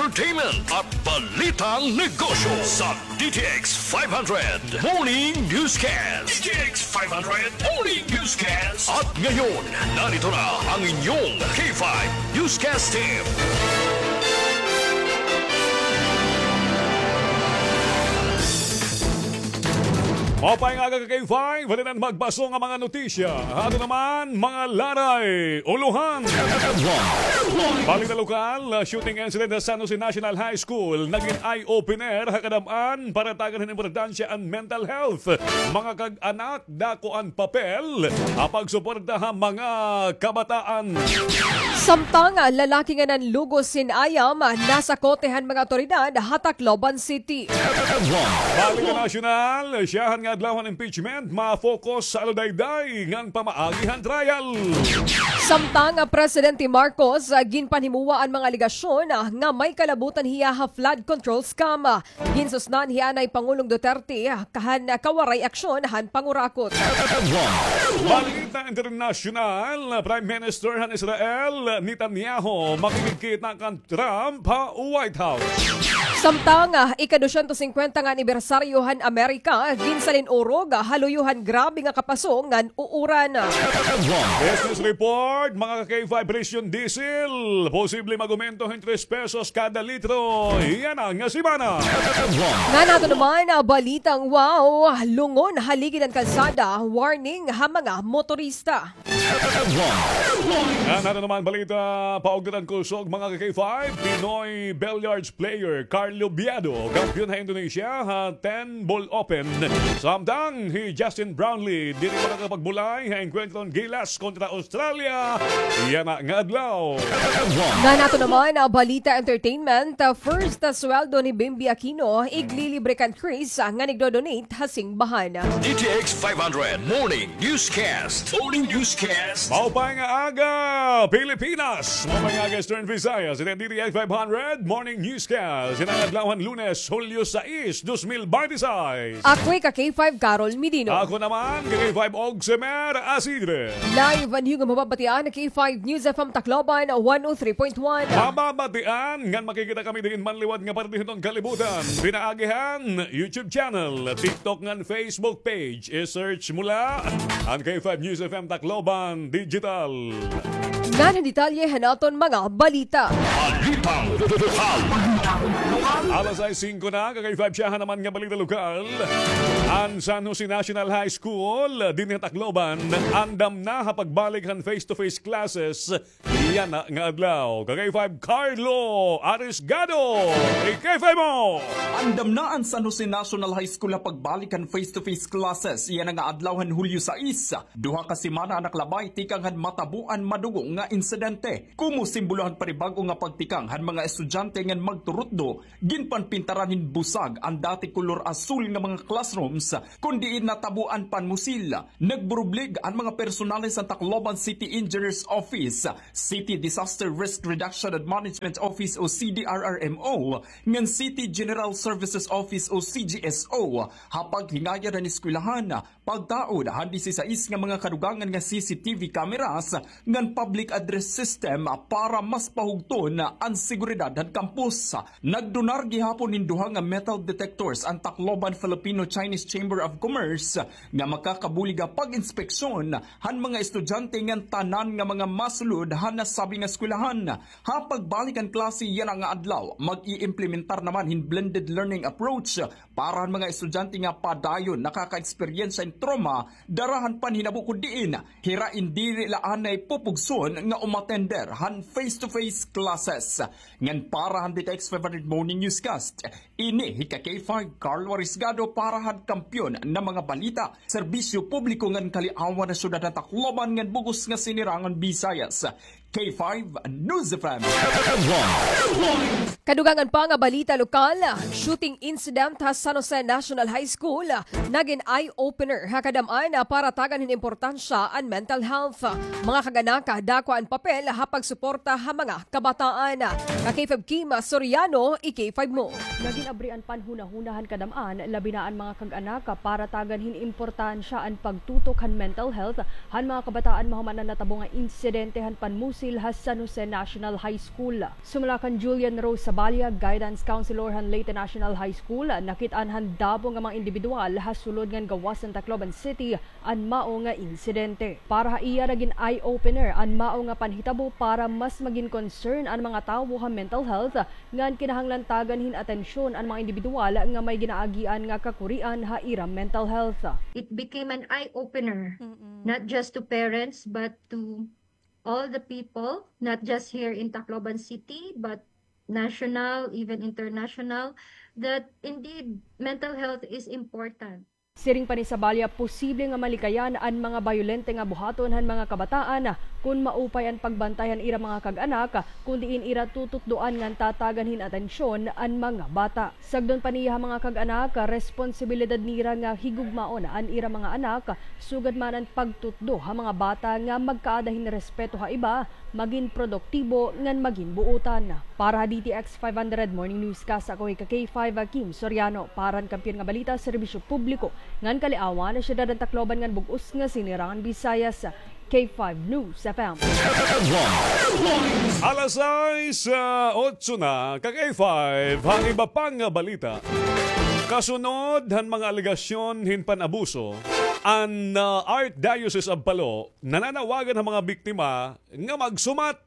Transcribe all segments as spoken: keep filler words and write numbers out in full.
entertainment at balitang negosyo sa D T X five hundred Morning Newscast. D T X five hundred Morning Newscast. At ngayon, narito na ang inyong K five Newscast Team. Maupay nga aga ka K five, halinan magbasol nga mga notisya. Ato naman, mga laray, ulohan. Balita lokal, ah, shooting incident sa San Jose National High School, nagin eye-opener ha kadam-an para tagan hin importansya an mental health. Mga kag-anak, dako an papel ha pagsuporta ha mga kabataan. Samtang lalaki nga nanlugos hin ayam, nasakote han mga awtoridad ha Tacloban City. Balita nasyonal, syahan nga adlaw han impeachment, ma-focus sa aludayday ngan pamaagi han trial. Samtang Presidente Marcos, ginpanhimuwa an mga alegasyon nga may kalabutan hiya ha flood control scam. Ginsusnan hiya anay Pangulong Duterte han kawaray aksyon han pangurakot. Balita internasyonal, Prime Minister han Israel, Netanyahu, makikigkita kan Trump ha White House. Samtang, ah, ika-dosyentos singkwenta nga anibersaryo han Amerika, ginsalin-urog ha luyo han grabe nga kapaso ngan uuran. Business report, mga ka-K five, presyo han diesel posible mag-umento hin tres pesos kada litro yana nga semana. Ngan ato naman, ah, balitang wow, lungon haligi han kalsada, warning ha mga motorista. Ngan ato naman balita, paugdad han kusog, mga ka-K five, Pinoy billiards player Carlo Biado, kampiyon ha Indonesia ha ten ball open. Samtang hi Justin Brownlee diri makakapagbulay ha engkwentro han Gilas kontra Australia yana nga adlaw. Ngan ato naman, ah, balita entertainment, ah, first, ah, sweldo ni Bimbi Aquino, iglilibre kan Chris, ah, ngan igdo-donate ha singbahan. D T X five hundred Morning Newscast. Morning Newscast. Maupay nga aga, Pilipinas. Maupay nga aga, Eastern Visayas. Ini an D T X five hundred Morning Newscast. Yana nga adlaw han Lunes, Hulyo sais, dos mil binte seis. Ako ika K five, Carol Medino. Ako naman, K five, Ogsemer Asidre. Live an iyo nga mababatian, K five News F M Tacloban, one oh three point one. Mababatian ngan makikita kami diin man liwat nga parte hiton kalibutan. Pinaagi han YouTube channel, TikTok ngan Facebook page. I-search mo la an K five News F M Tacloban Digital. Ngan an detalye han aton mga balita. Balitang lokal. Alas sais singko na, ka-K five, syahan naman nga balita lokal. An San Jose National High School dinhi ha Tacloban andam na ha pagbalik han face-to-face classes yana nga adlaw. Ka-K five, Carlo Arisgado, i-K five mo! Andam na an San Jose National High School ha pagbalik han face-to-face classes yana nga adlaw han Hulyo sais. Duha ka semana an nakalabay tikang han matabo an madugo nga insidente. Komo simbolo han panibag-o nga pagtikang han mga estudyante ngan magturutdo, ginpanpintaran hin busag an dati kolor asul nga mga classrooms, kon diin natabo an panmusil. Nagburublig an mga personales han Tacloban City Engineers Office, City Disaster Risk Reduction and Management Office o C D R R M O, ngan City General Services Office o C G S O, ha paghingayad han eskwelahan, pagtaod han disisais nga mga kadugangan nga C C T V cameras ngan public address system para mas pahugton an seguridad han campus. Nagdonar gihapon hin duha nga metal detectors an Tacloban Filipino-Chinese Chamber of Commerce nga makakabulig ha pag-inspeksyon han mga estudyante ngan tanan nga mga masulod han nasabi nga eskwelahan. Ha pagbalik han klase yana nga adlaw, mag-iimplementar naman hin blended learning approach para han mga estudyante nga padayon nakaka-eksperyensya hin trauma dara han panhinabo kon diin hira in diri la anay pupugson nga umatender han face-to-face classes. Ngan para han D T X five hundred Morning Newscast, ini hi ka-K five Carlo Arisgado para han Kampiyon nga mga balita, serbisyo publiko ngan kaliawan han syudad han Tacloban ngan bug-os nga sinirangan Visayas. K five News F M. Kadugangan pa nga balita lokal, shooting incident ha San Jose National High School, nagin eye-opener ha kadam-an para tagan hin importansya an mental health. Mga kag-anak, dako an papel ha pagsuporta ha mga kabataan. Ka-K five Kim Soriano, i-K five mo. Nagin abri an panhunahuna han kadam-an, labi na an mga kag-anak, para tagan hin importansya an pagtutok han mental health han mga kabataan mahuman an natabo nga insidente han panmusil ha San Jose National High School. Sumala kan Julian Rose Balya, guidance counselor han Leyte National High School, nakit-an han dabong nga mga indibidwal ha sulod ngan gawas han Tacloban City an mao nga insidente. Para ha iya, nagin eye-opener an mao nga panhitabo para mas magin concern an mga tawo ha mental health ngan kinahanglan tagan hin atensyon an mga indibidwal nga may ginaagian nga kakurian ha ira mental health. It became an eye-opener, not just to parents, but to all the people, not just here in Tacloban City, but national, even international, that indeed mental health is important. Siring pa ni Sabalya, posible nga malikayan an mga bayolente nga buhaton han mga kabataan kon maupay an pagbantay han ira mga kag-anak, kon diin ira tututdoan ngan tatagan hin atensyon an mga bata. Sagdon pa niya ha mga kag-anak, responsibilidad nira nga higugmaon an ira mga anak, sugad man an pagtutdo ha mga bata nga magkaada hin respeto ha iba, magin produktibo ngan magin buotan. Para ha D T X five hundred Morning Newscast, ako hi ka K five, Kim Soriano. Para han Kampiyon nga Balita, Serbisyo Publiko ngan Kaliawan, Syudad han Tacloban ngan Bug-os nga Sinirangan Visayas, K five News F M. Alas sais, ah, otso na, ka K five, ha iba pang balita. Kasunod han mga alegasyon hin pan-abuso, an, ah, Archdiocese of Palo nananawagan ha mga biktima nga magsumat.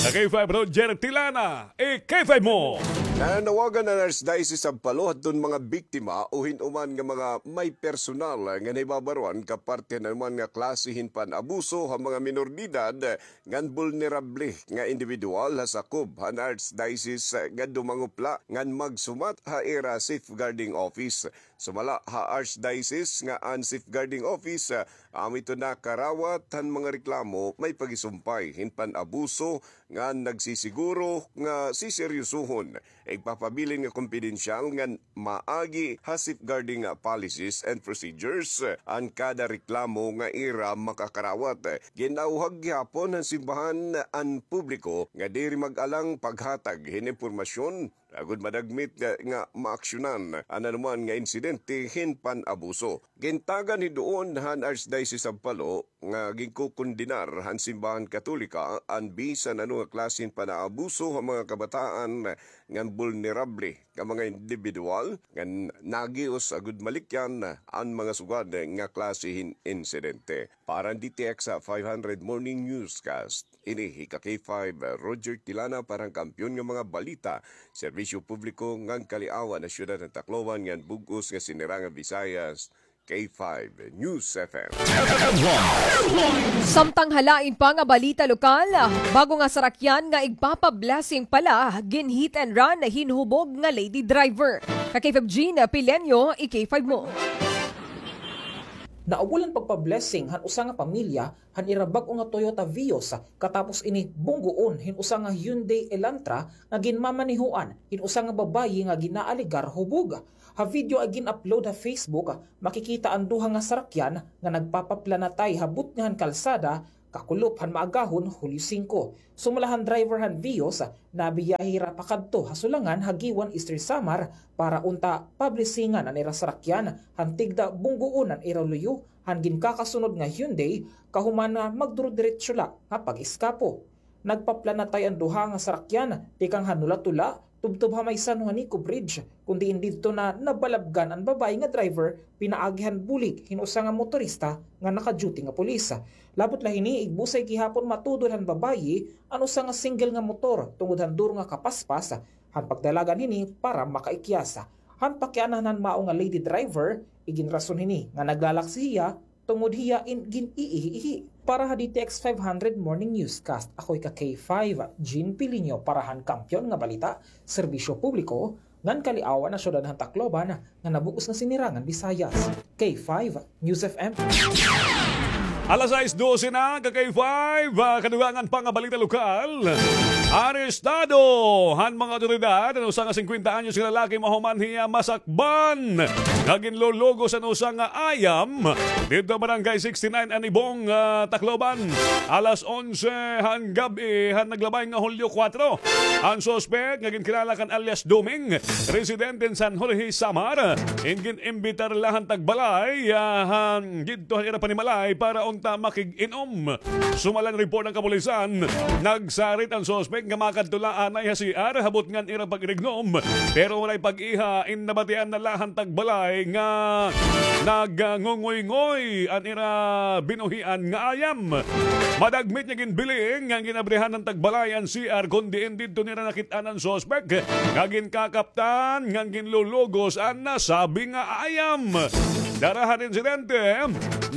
Ka K five Roger Tilana, i-K five mo. Nananawagan an Archdiocese of Palo hadton mga biktima o hin-o man nga mga may personal nga nahibabaroan kaparte han anuman nga klase hin pan-abuso ha mga minor de edad ngan bulnerable nga indibidwal ha sakob han Archdiocese nga dumangupla ngan magsumat ha ira safeguarding office. Sumala ha Archdiocese nga an safeguarding office, ah, amo ito nakarawat han mga reklamo may pagisumpay hin pan-abuso ngan nagsisiguro nga siseryosohon, igpapabilin nga kompidensyal ngan maagi ha safeguarding, ah, policies and procedures, ah, an kada reklamo nga ira makakarawat. Gin-awhag gihapon han simbahan an publiko nga diri mag-alang paghatag hin impormasyon agod madagmit nga, nga maaksyonan an anuman nga insidente hin pan-abuso. Gintagan hiduon han Archdiocese of Palo nga ginkokondenar han simbahan Katolika an bisan ano nga klase hin pan-aabuso ha mga kabataan ngan bulnerable nga mga indibidwal ngan nagios agod malikyan an mga sugad nga klase hin insidente. Para han D T X five hundred Morning Newscast, ini hi ka K five, Roger Tilana para han Kampiyon nga mga Balita, Serbisyo Publiko ngan Kaliawan ha Syudad han Tacloban ngan Bug-os nga Sinirangan Visayas, K five News F M. Samtang ha lain pa nga balita lokal, bag-o nga sarakyan nga igpapa-blessing pala, gin-hit and run hin hubog nga lady driver. Ka K five Jean Pileño, i-K five mo. Naubol an pagpa-blessing han usa nga pamilya han ira bag-o nga Toyota Vios, katapos ini bunggoon hin usa nga Hyundai Elantra nga ginmamanehoan hin usa nga babaye nga ginaalegar hubog. Ha video nga gin-upload ha Facebook, makikita an duha nga sarakyan nga nagpapaplanatay ha butnga han kalsada, kakulop han maagahon Hulyo singko. Sumala han driver han Vios, nabiyahe hira pakadto ha Sulangan ha Guiuan, Eastern Samar, para unta pablesingan an ira sarakyan han tigda bunggoon an ira luyo han ginkakasunod nga Hyundai, kahuman nga magduro-diretso la nga pag-eskapo. Nagpaplanatay an duha nga sarakyan tikang ha Nula-Tula, tubtob ha may San Juanico Bridge, kon diin didto na nabalabgan an babaye nga driver pinaagi han bulig hin usa nga motorista nga naka-duty nga pulis. Labot la hini, igbusay gihapon matudol han babaye an usa nga single nga motor tungod han duro nga kapaspas han pagdalagan hini para makaikyas. Han pakianahan han mao nga lady driver, iginrason hini nga naglalaksi hiya tungod hiya in gin-iihi-ihi. Para ha D T X five hundred Morning Newscast, ako hi ka K five, Jean Pilinho para han Kampiyon nga Balita, Serbisyo Publiko ngan Kaliawan ha Syudad han Tacloban ngan Bug-os nga Sinirangan Visayas, K five News F M. Alas sais dose na, ka K five, ah, kadugangan pa nga balita lokal. Arestado han mga awtoridad an usa nga singkwenta anyos nga lalaki mahuman hiya masakpan nga ginlulugos an usa nga ayam didto ha Barangay sixty-nine Anibong, ah, Tacloban. Alas onse han gab-i han naglabay nga Hulyo kuwatro, an suspek nga ginkilala kan alias Duming, residente hin San Jorge, Samar, in gin-imbitar la han tagbalay, ah, han didto han ira panimalay para un- ta makig-inom. Sumala han report han kapulisan, nagsarit an suspek nga makadto la anay ha C R habot ngan ira pag-irignom, pero walay pag-iha in nabatian na la han tagbalay nga nagngungoyngoy an ira binuhian nga ayam. Madagmit nga ginbiling nga ginabrihan han tagbalay an C R kon diin didto nira nakit-an an suspek nga ginkakaptan ngan ginlulugos an nasabi nga ayam. Dara han insidente,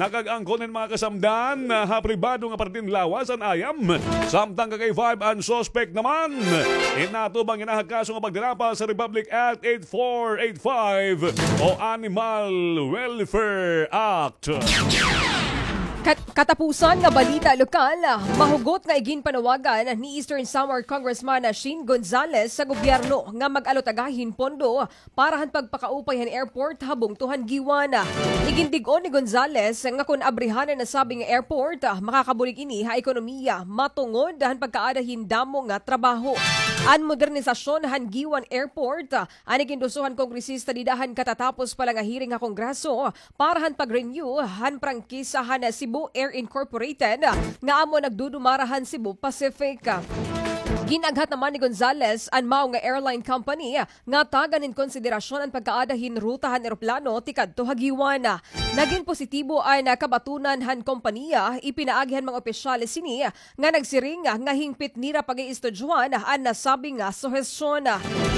nakag-angkon hin mga kasamdan ha pribado nga parte hin lawas an ayam. Samtang ka K five an suspek naman, inatubang hini ha kaso nga pagdanapaw sa Republic Act eight four eight five o Animal Welfare Act. Kat-, katapusan nga balita lokal, mahugot nga iginpanawagan ni Eastern Samar Congressman Sheen Gonzales sa gobyerno nga mag-alutagay hin pondo para han pagpakaupay han airport ha bungto han Guiuan. Igindig-on ni Gonzales nga kon abrihan an nasabi nga airport, makakabulig ini ha ekonomiya matungod han pagkaada hin damo nga trabaho. An modernisasyon han Guiuan Airport, an iginduso han kongresista dida han katatapos pa la nga hearing ha Kongreso, para han pag-renew han prangkisa han Cebu Air Incorporated nga amo nagdudumara han Cebu Pacific. Gin-aghat naman ni Gonzales an mao nga airline company nga tagan hin konsiderasyon an pagkaada hin ruta han eroplano tikadto ha Guiuan. Nagin positibo an kabatunan han kompanya, ipinaagi han mga opisyales hini nga nagsiring nga hingpit nira pag-iistudyohan an nasabi nga suhestyon.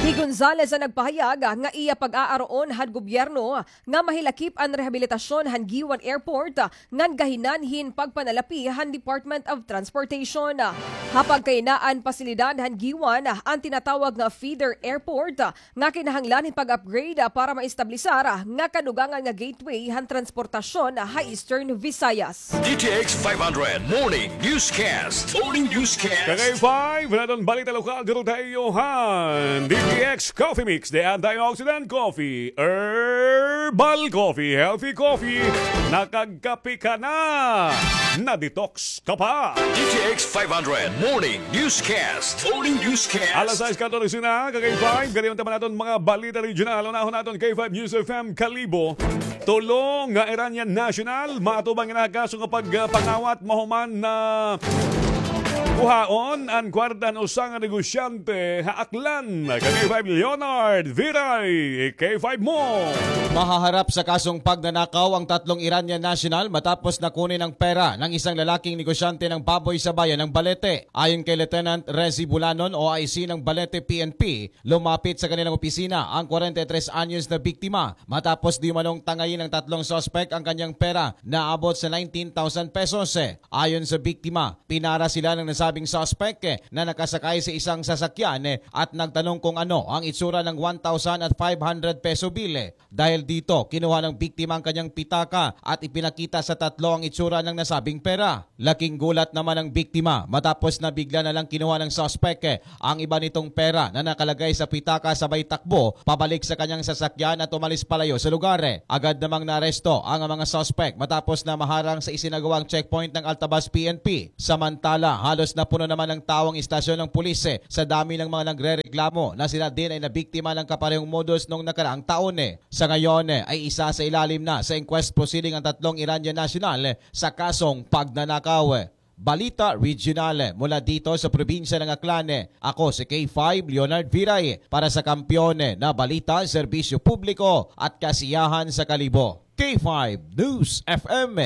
Hi Gonzales an nagpahayag nga iya pag-aaruon han gobyerno nga mahilakip an rehabilitasyon han Guiuan Airport ngan gahinan hin pagpanalapi han Department of Transportation. Ha pagkahinaan pasilidad han Guiuan an tinatawag nga feeder airport nga kinahanglan hin pag-upgrade para maestablisar nga kadugangan nga gateway han transportasyon ha Eastern Visayas. D T X five hundred Morning Newscast. Morning Newscast. Ka K five, naton balita lokal, duro tayo han D T X Coffee Mix, the antioxidant coffee, herbal coffee, healthy coffee. Nakagkape ka na, na-detox ka pa. D T X five hundred Morning Newscast. Morning Newscast. Alas sais katorse na, ka K five, gani unta man aton mga balita regional. Unahon naton K five News F M Kalibo. Tulo nga Iranian national, maatubang nga nakaso nga pagpangawat mahuman na kuhaon an kwarta han usa nga negosyante ha Aklan. Ka K five Leonard Viray, K five mo. Mahaharap sa kasong pagnanakaw ang tatlong Iranian national matapos na kunin ang pera ng isang lalaking negosyante ng baboy sa bayan ng Balete. Ayon kay Lieutenant Rezi Bulanon, O I C ng Balete P N P, lumapit sa kanilang opisina ang kwarenta y tres anyos na biktima matapos di umanong tangayin ng tatlong suspek ang kanyang pera na abot sa nineteen thousand pesos. Ayon sa biktima, pinara sila ng nasabing suspek na nakasakay sa isang sasakyan at nagtanong kung ano ang itsura ng one thousand at five hundred peso bill. Dahil dito, kinuha ng biktima ang kanyang pitaka at ipinakita sa tatlo ang itsura ng nasabing pera. Laking gulat naman ang biktima matapos na bigla na lang kinuha ng suspek ang iba nitong pera na nakalagay sa pitaka, sabay takbo pabalik sa kanyang sasakyan at umalis palayo sa lugar. Agad namang naaresto ang mga suspek matapos na maharang sa isinagawang checkpoint ng Altabas P N P. Samantala, halos napuno naman ng tao ang istasyon ng pulis sa dami ng mga nagrereklamo na sila din ay nabiktima ng kaparehong modus noong nakaraang taon. Sa ngayon, ay isasailalim na sa inquest proceeding ang tatlong Iranian national sa kasong pagnanakaw. Balita Regional mula dito sa probinsya ng Aklan. Ako si K five Leonard Viray para sa Kampiyon na Balita, Serbisyo Publiko at Kasiyahan sa Kalibo. K five News F M.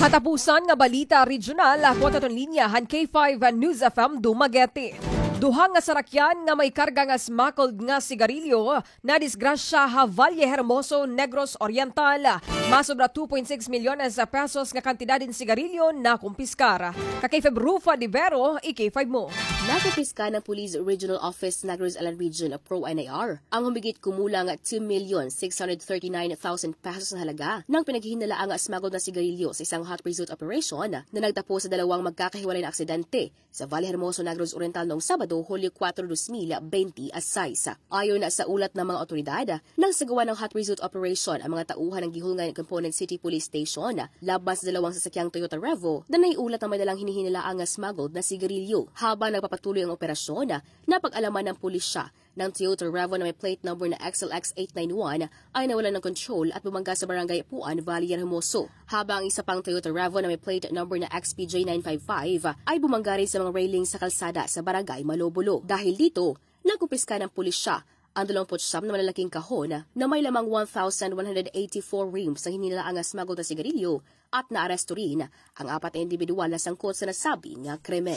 Katapusan nga balita regional, kuwat aton linya han K five News F M Dumaguete. Duha nga sarakyan nga may karga nga smuggled nga sigarilyo nadisgrasya ha Valle Hermoso, Negros Oriental. Masobra two point six milyones pesos nga kantidad hin sigarilyo nakumpiskar. Ka K five Rufa de Vero, i K five mo. Nakumpiska ng Police Regional Office Negros Island Region, Pro N I R, ang humigit kumulang two million six hundred thirty-nine thousand pesos na halaga ng pinaghihinalaang smuggled na sigarilyo sa isang hot pursuit operation na nagtapos sa dalawang magkakahiwalay na aksidente sa Valle Hermoso, Negros Oriental noong Sabado, Hulyo kuwatro, dos mil bente y seis. Ayon sa ulat ng mga otoridad, nagsagawa ng hot pursuit operation ang mga tauhan ng Guihulngan Component City Police Station laban sa dalawang sasakyang Toyota Revo na naiulat na may dalang hinihinalaang smuggled na sigarilyo. Habang nagpapatuloy ang operasyon, napag-alaman ng pulisya ng Toyota Revo na may plate number na X L X eight nine one ay nawala ng kontrol at bumangga sa barangay Puan, Valle Hermoso. Habang ang isa pang Toyota Revo na may plate number na X P J nine five five ay bumangga rin sa mga railing sa kalsada sa barangay Malobolo. Dahil dito, nagkumpiska ng pulisya ang dalawampu't siyam na malalaking kahon na may lamang one thousand one hundred eighty-four reams na hinila ang smuggled na sigarilyo at naaresto rin ang apat na indibidwal na sangkot sa nasabing krimen.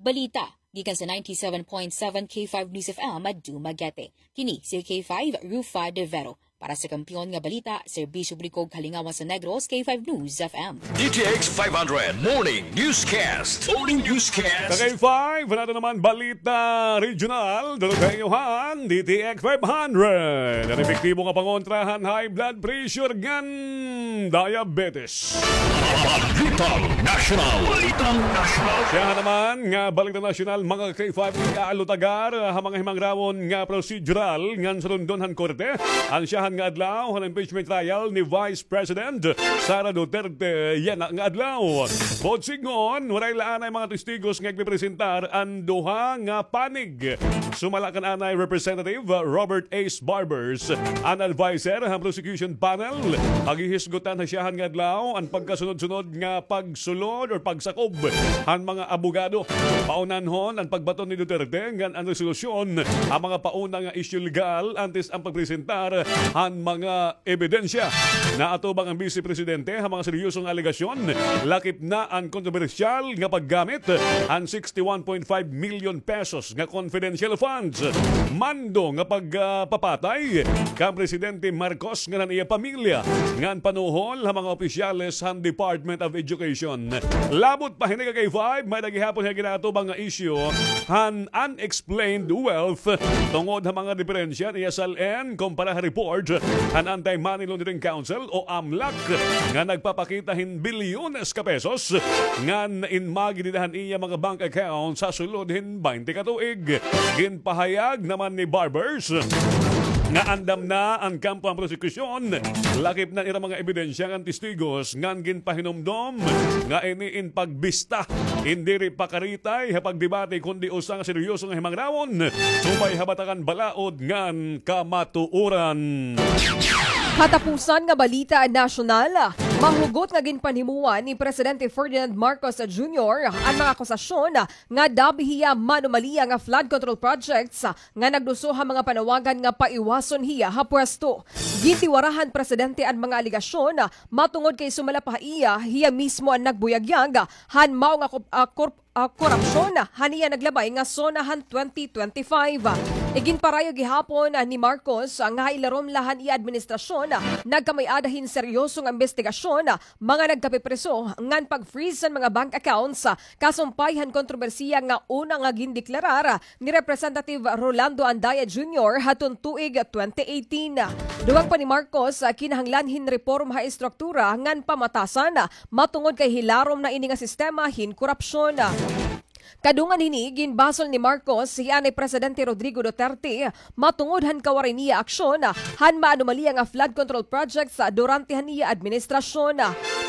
Balita gikan sa ninety-seven point seven K five News F M, Dumaguete. Kini si K five, Rufa De Vero. Para sa Kampiyon nga Balita, Serbisyo Publiko, Kalingawan sa Negros, K five News F M. D T X five hundred Morning Newscast. Morning Newscast. Sa K five, nato naman balita regional. Dulog ha inyo han D T X five hundred. An epektibo nga pangontra han high blood pressure ngan diabetes. Balitang National. Balitang National. Siya naman nga Balitang National, mga K five, iaalutagar ha mga himangrawon nga prosedural ngan sulundon han korte. An siyahan nga adlaw han impeachment trial ni Vice President Sara Duterte yana nga adlaw. Bot sidngon, waray la anay mga testigos nga igpipresentar an duha nga panig. Sumala kan anay Representative Robert Ace Barbers, an adviser han prosecution panel, paghihisgutan ha siyahan nga adlaw an pagkasunod-sunod nga pagsulod or pagsakob han mga abogado. Paunanhon an pagbaton ni Duterte ngan an resolusyon han mga pauna nga isyu legal antes an pagpresentar han mga ebidensya. Naatubang an Bise Presidente ha mga seryoso nga alegasyon, lakip na an kontrobersyal nga paggamit han sixty-one point five million pesos nga confidential funds, mando nga pagpapatay kan Presidente Marcos ngan an iya pamilya, ngan panuhol ha mga opisyales han Department of Education. Labot pa hini, ka K five, may-ada gihapon nga ginaatubang nga isyu han unexplained wealth tungod ha mga diperensya niya sal-en kumpara ha report han Anti-Money Laundering Council o AMLAC nga nagpapakita hin bilyones ka pesos ngan inmagi dida han iya mga bank accounts ha sulod hin baynte ka tuig. Ginpahayag naman ni Barbers nga andam na an kampo han prosekusyon, lakip na an ira mga ebidensya ngan testigos ngan ginpahinumdom nga ini in pagbista, in diri pakaritay ha pagdebate kundi usa nga seryoso nga himangrawon subay ha batakan balaod ngan kamatuoran. Katapusan nga balita nasyonal, mahugot nga ginpanhimuan ni Presidente Ferdinand Marcos Junior an mga akusasyon nga dabi hiya manumaliya nga flood control projects nga nagduso ha mga panawagan nga paiwason hiya ha pwesto. Gintiwara han presidente an mga alegasyon matungod kay sumala pa ha iya, hiya mismo an nagbuyagyag han mao nga kop-, ah, korp-, ah, korupsyon han iya naglabay nga SONA han twenty twenty-five. Iginparayo gihapon ni Marcos nga ha ilarom la han iya administrasyon, nagkamay-ada hin seryoso nga imbestigasyon, mga nagkapipriso ngan pag-freeze han mga bank accounts, kasumpay han kontrobersiya nga una nga gindeklarar ni Representative Rolando Andaya Junior hadton tuig twenty eighteen. Dugang pa ni Marcos, kinahanglan hin reporma ha estruktura ngan pamatasan, matungod kay hilarom na ini nga sistema hin korupsyon. Kadungan hini, ginbasol ni Marcos hi anay Presidente Rodrigo Duterte matungod han kawaray niya aksyon han maanomalya nga flood control projects durante han iya administrasyon.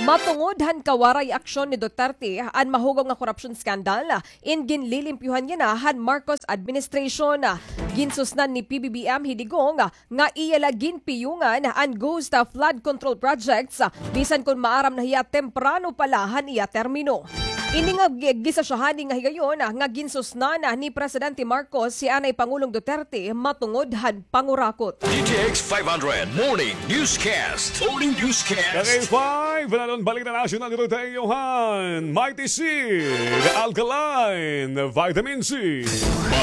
Matungod han kawaray aksyon ni Duterte, an mahugaw nga korupsyon scandal in ginlilimpyuhan yana han Marcos administration. Ginsusnan ni P B B M hi Digong nga iya la ginpiyungan an ghost flood control projects, bisan kon maaram na hiya temprano pa la han iya termino. Ini nga gi-, gin-isa siya hani nga higayon nga ginsusnan ni Presidente Marcos hi anay Pangulong Duterte matungod han pangurakot. D T X five hundred Morning Newscast. Morning Newscast. K five, naton balita nasyonal dito tayo han Mighty Seed Alkaline Vitamin C.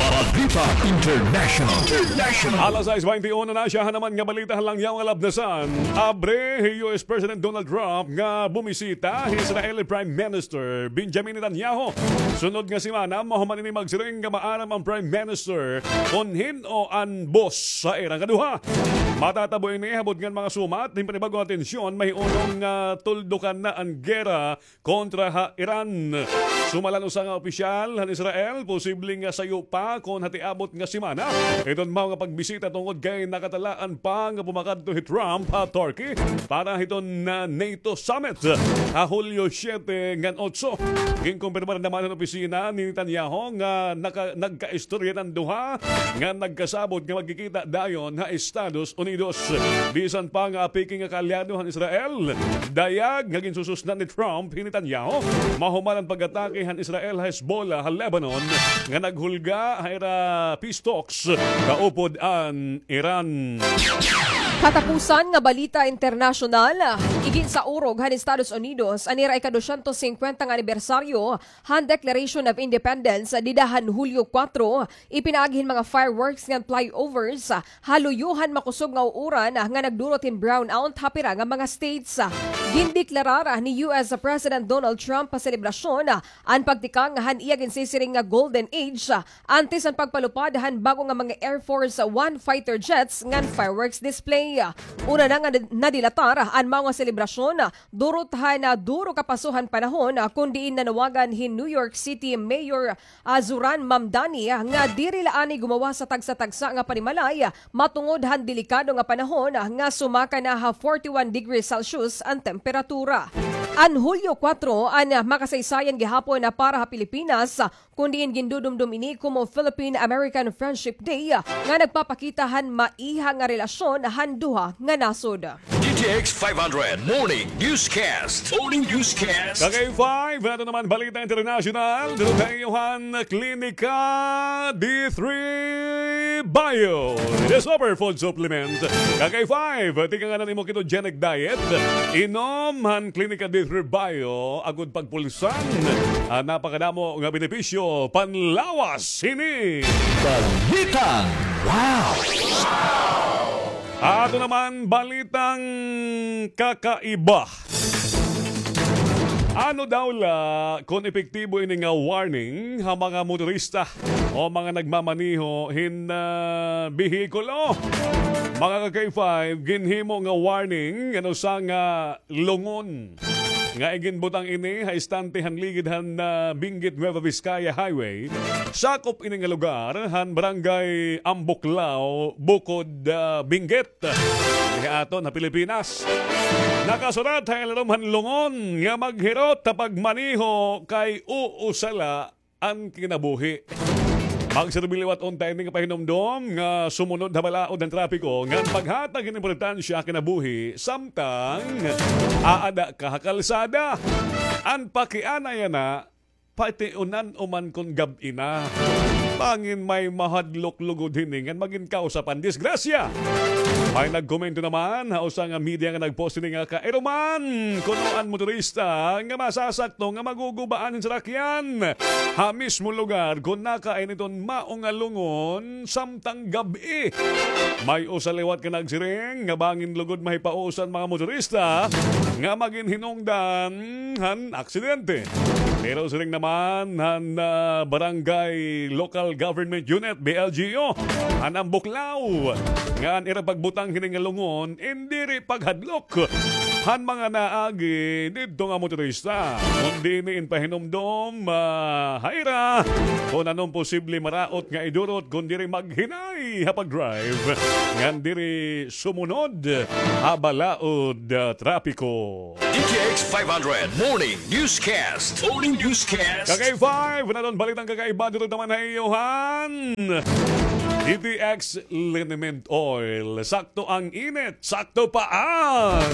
Balita International. International. Alas sais baynte uno na siya, han naman nga balita han langyaw nga labnasan. Abre hi U S President Donald Trump nga bumisita hi Israeli Prime Minister Benjamin Netanyahu. Sunod nga semana, mahuman ini magsiring nga maaram an Prime Minister kon hin-o an boss ha ira nga duha. Matatabo ini habot ngan mga sumat hin panibag-o nga tensyon, mahiunong nga tuldukan na an gera kontra ha Iran. Sumala han usa nga opisyal han Israel, posible nga sayo pa kon ha tiabot nga semana iton mao nga pagbisita tungod kay nakatalaan pa nga pumakadto hi Trump ha Turkey para hiton, ah, NATO summit ha Hulyo siyete ngan otso. Ginkumpirmar naman han opisina ni Netanyahu nga naka-, nagkaistorya an duha nga nagkasabot nga magkikita dayon ha Estados Unidos. Bisan pa nga apiki nga kaalyado han Israel, dayag nga ginsususnan ni Trump hi Netanyahu mahuman an pag-atake han Israel ha Hezbollah ha Lebanon nga naghulga ha ira peace talks kaupod an Iran. Katapusan nga balita internasyonal, iginsaurog han Estados Unidos an ira ika-dosyentos singkwenta nga anibersaryo han Declaration of Independence dida han Hulyo kuwatro, ipinaagi hin mga fireworks ngan flyovers ha luyo han makusog nga uuran nga nagdurot hin brownout ha pira nga mga states. Gindeklarar ni U S President Donald Trump ha selebrasyon an pagtikang han iya ginsisiring nga Golden Age antes han pagpalupad han bag-o nga mga Air Force One fighter jets ngan fireworks display. Una na nga nadilatar an mao nga selebrasyon durot han duro ka paso han panahon, kon diin nanawagan hin New York City Mayor, ah, Zohran Mamdani, ah, nga diri la anay gumawas ha tagsa-tagsa nga panimalay, ah, matungod han delikado nga panahon, ah, nga sumaka na ha forty-one degrees Celsius an temperatura. An Hulyo kuwatro an, ah, makasaysayan gihapon na para ha Pilipinas, ah, kon diin gindudumdom ini komo Philippine-American Friendship Day, ah, nga nagpapakita han maiha nga relasyon han duha nga nasod. D T X five hundred Morning Newscast. Morning Newscast. Ka-K five, ato naman balita internasyonal. Dito tayo han Klinika D three Bio, the superfood supplement. Ka-K five, tikang an imo ketogenic diet. Inom han Klinika D three Bio agod pagpulsan an napakadamo nga benepisyo panlawas hini. Balitang wow! Ato naman balitang kakaiba. Ano daw la kon epektibo ini nga warning ha mga motorista o mga nagmamaneho hin, ah, behikulo? Mga ka-K five, ginhimo nga warning an usa nga lungon nga iginbutang ini ha istante han ligid han, ah, Benguet Nueva Vizcaya Highway. Sakop ini nga lugar han Barangay Ambuklao, Bukod, ah, Benguet. Diri ha aton ha Pilipinas. Nakasurat ha ilarom han lungon nga maghirot ha pagmaneho kay usa la an kinabuhi. Magserbi liwat unta ini nga pahinumdom nga sumunod ha balaod han trapiko ngan paghatag hin importansya ha kinabuhi samtang aada ka ha kalsada. An pakiana yana, pati unan-o man kon gab-i na. Bangin may mahadlok lugod hini ngan magin kawsa pa hin disgrasya. May nagkomento naman ha usa nga media nga nagpost hini nga kairuman kuno an motorista nga masasakto nga magugubaan hin sarakyan ha mismo lugar kon nakain iton mao nga lungon samtang gab-i. May usa liwat nga nagsiring nga bangin lugod mahipausa an mga motorista nga magin hinungdan han aksidente. Pero siring naman han, ah, Barangay Local Government Unit, B L G U, han Ambuklao, nga an ira pagbutang hini nga lungon in diri paghadlok han mga naagi didto nga motorista, kundi ini in pahinumdom, ah, ha ira kon ano an posible maraot nga idurot kon diri maghinay ha pag-drive ngan diri sumunod ha balaod, ah, trapiko. D T X five hundred Morning Newscast. Morning Newscast. Ka-K five, naton balitang kakaiba dito naman ha iyo han D T X Liniment Oil. Sakto ang init, sakto pa ang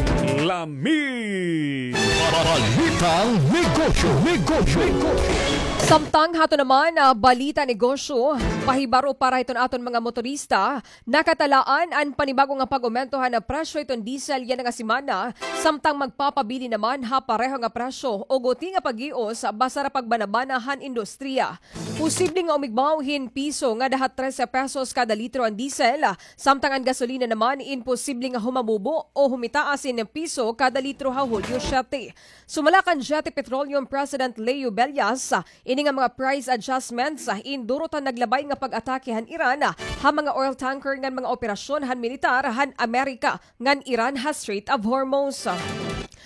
lami. Balitang negosyo, negosyo, negosyo. Samtang hato naman, ah, balita negosyo, pahibaro para hiton aton mga motorista, nakatalaan an panibago nga pag-umento han presyo hiton diesel yana nga semana, samtang magpapabilin naman ha pareho nga presyo o guti nga pag-ios basta ra pagbanabana han industriya. Posible nga umigbaw hin piso ngada ha trese pesos kada litro an diesel, samtang an gasolina naman in posible nga humamubo o humitaas hin piso kada litro ha Hulyo siyete. Sumala kan Jeti Petroleum President Leo Bellas, ini nga mga price adjustments in durot han naglabay nga pag-atake han Iran ha mga oil tanker ngan mga operasyon han militar han Amerika ngan Iran ha Strait of Hormuz.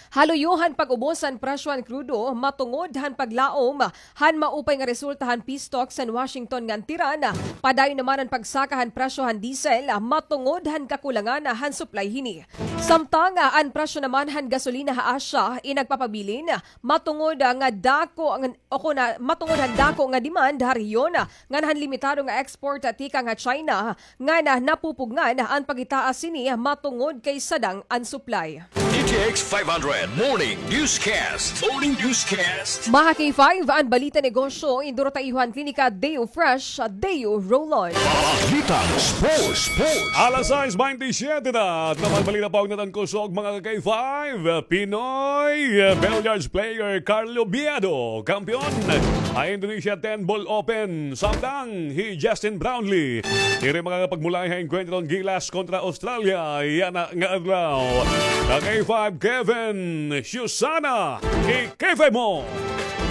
Haluyo han pag-ubos han presyo han krudo matungod han paglaom han maupay nga resulta han peace talks han Washington ngan Tehran. Padayon naman an pagsaka han presyo han diesel matungod han kakulangan han supply hini. Samtang an presyo naman han gasolina ha Asia in nagpapabilin matungod nga dako ang, o kon, ah, matungod han dako nga demand ha rehiyon ngan han limitado nga export tikang ha China ngan napupugngan an pagitaas hini matungod kay sadang an supply. D T X five hundred Morning Newscast. Morning Newscast. Mga K five, an balita negosyo, induro ta iyo han klinika Deo Fresh, Deo Roll-On. Balitang Sports, Sports. Alas sais baynte siyete na. At naman balita pa, ugnadan ko sa mga K five, Pinoy billiards player Carlo Biado, kampiyon ha Indonesia ten Ball Open. Samtang hi Justin Brownlee diri makakapagmulay ha engkwentro han Gilas kontra Australia yana nga adlaw. Ka K five Kevin Susana, i K five mo.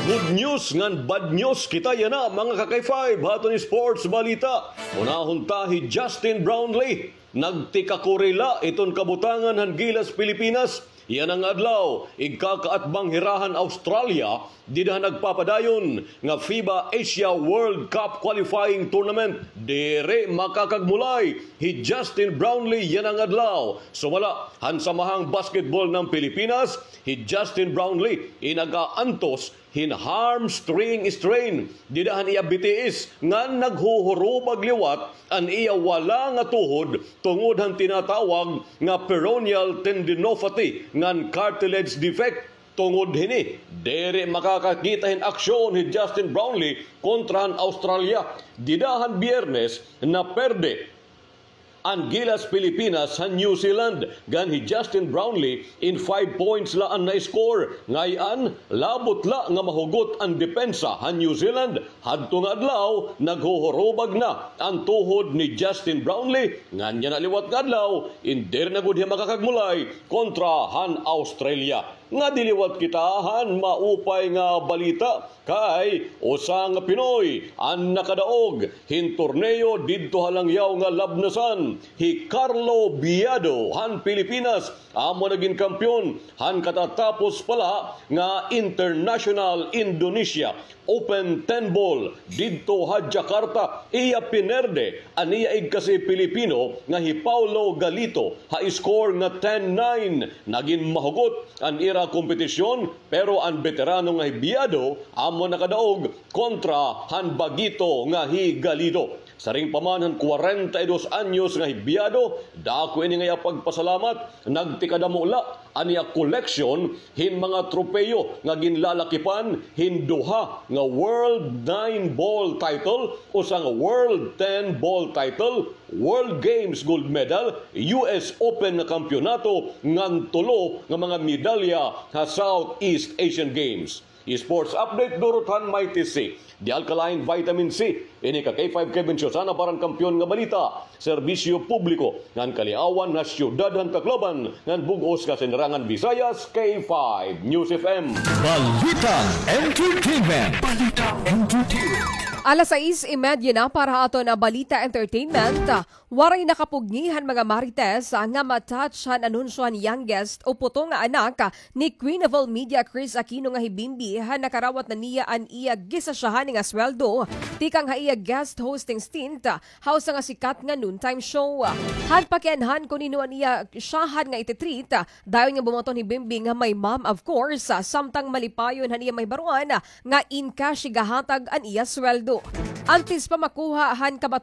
Good news ngan bad news kita yana, mga ka K five, ha aton sports balita. Unahon ta hi Justin Brownlee. Nagtikakuri la iton kabutangan han Gilas Pilipinas yana nga adlaw, igkakaatbang hira han Australia dida ha nagpapadayon nga FIBA Asia World Cup Qualifying Tournament. Diri makakagmulay hi Justin Brownlee yana nga adlaw. Sumala han Samahang Basketball ng Pilipinas, hi Justin Brownlee in nag-aantos hin hamstring strain dida han iya bitiis ngan naghuhurubag liwat an iya wala nga tuhod tungod han tinatawag nga peroneal tendinopathy ngan cartilage defect. Tungod hini, diri makakakita hin aksyon hi Justin Brownlee kontra han Australia. Dida han Biyernes, naperde an Gilas Pilipinas han New Zealand, ngan hi Justin Brownlee in five points la an na-score. Ngay-an, labot la nga mahugot an depensa han New Zealand. Hadto nga adlaw, naghuhurubag na an tuhod ni Justin Brownlee, ngan yana liwat nga adlaw, in diri na gud hiya makakagmulay kontra han Australia. Ngadi liwat kita han maupay nga balita, kay usa nga Pinoy an nakadaog hin torneo didto ha langyaw nga labnasan. Hi Carlo Biado han Pilipinas amo nagin kampiyon han katatapos pa la nga International Indonesia Open ten Ball didto ha Jakarta. Iya pinerde an iya igkasi Pilipino nga hi Paulo Galito ha score nga ten nine. Nagin mahugot an ira kompetisyon, pero an beterano nga hi Biado amo nakadaog kontra han bagito nga hi Galito. Siring pa man han kwarenta y dos anyos nga hi Biado, dako ini nga iya pagpasalamat. Nagtikadamo la an iya koleksyon hin mga tropeyo nga ginlalakipan hin duha nga World nine Ball title, usa nga World ten Ball title, World Games gold medal, U S Open nga kampiyonato, ngan tulo nga mga medalya ha Southeast Asian Games. Sports update, durot han Mighty C. The Alkaline Vitamin C. Ini ka K five Kevin Siosana para han Kampiyon nga Balita, Serbisyo Publiko ngan Kaliawan ha Siyudad han Tacloban ngan bug-os nga Sinirangan Visayas, K five News F M. Balitang Entertainment. Balitang Entertainment. Alas sais y media na para ha aton nga Balita Entertainment. Waray nakapugngi han mga marites nga ma-touch han anunsyo han youngest o puto nga anak ni Queen of All Media Kris Aquino nga hi Bimbi han nakarawat na niya an iya gisasyahan nga sweldo tikang ha iya guest hosting stint ha usa nga sikat nga noontime show. Han pakianhan kon hin-o an iya syahan nga iti-treat, dayon nga bumaton hi Bimbi nga may mom, of course, samtang malipayon han iya mahibaroan nga in cash igahatag an iya sweldo. Antes pa makuha han kabat-